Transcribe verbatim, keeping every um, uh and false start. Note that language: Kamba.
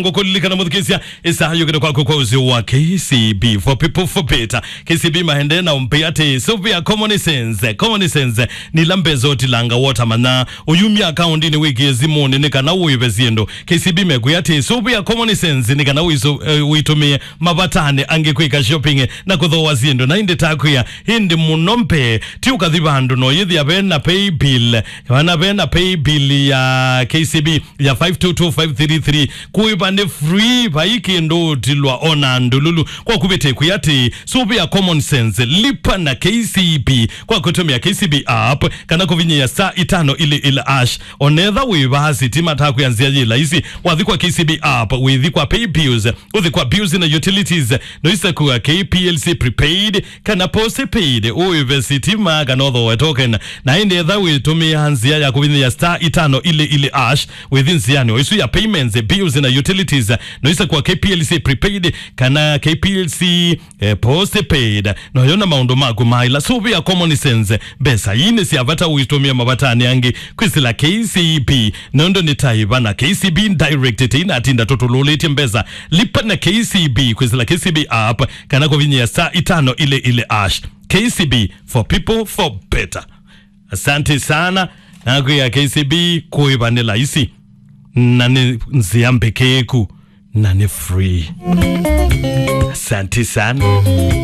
Ngũkũlilikana mũthikĩsya, ĩsaa yũkĩte kwaku kwa ũsĩ wa K C B, for people, for better. K C B maendee na ũmpĩ atĩ, sũvĩa common sense, common sense, nĩ ila mbesa ũtilanga wota mana, ũyumya akaũndinĩ wĩkĩe simũnĩ nĩ kana ũĩve syĩndũ. K C B mekwĩa atĩ, sũvĩa common sense nĩ kana ũiso-, eh, ũitũmĩe mavatani angĩ kwĩka shopping na kũthooa syĩndũ. Na ĩndĩ takwĩa, ĩndĩ mũno mbee, ti ũkathi vandũ no yĩthĩa ve na pay bill, kana ve na pay bill ya K C B ya five two two five three three. Kũĩva nĩ free, vai kĩndũ ũtilwa ona ndũlũlũ. Kwa kũvĩtĩ kwĩ atĩ, sũvĩa common sense, lipa na K C B kwa kũtũmĩa K C B app, kana kũvinyĩa star itano ili ili hash. Onetha wĩ vaa sitima takwĩa nzĩa yĩ laisi, wathi kwa K C B app, wĩthi kwa pay bills, ũthi kwa bills na utilities, no isakua K P L C prepaid, kana postpaid, ũĩve sitima, kana ũthooe token. Na ĩndĩ etha wĩtũmĩa nzĩa ya kũvinyĩa star itano ili ili hash, wĩthi nzĩanĩ o isu ya payments, bills na utilities, no isakua K P L C prepaid, kana K P L C, eh, postpaid. No yona maũndũ maku maila. Sũvĩa common sense. Mbesa ii nĩ sya vata ũitũmĩa mavatani angĩ kwĩsĩla K C B. Nũndũ nĩ ta ĩva na K C B Direct, tĩinatinda tũtũlũlĩtye mbesa. Lipa na K C B kwĩsĩla K C B app, kana kũvinyĩa star itano ile ile hash. K C B, for people, for better. Asante sana. Nakwĩa K C B kũĩva nĩ laisi. Na nĩ nzĩa mbĩkĩĩku. Na nĩ free. Asante sana.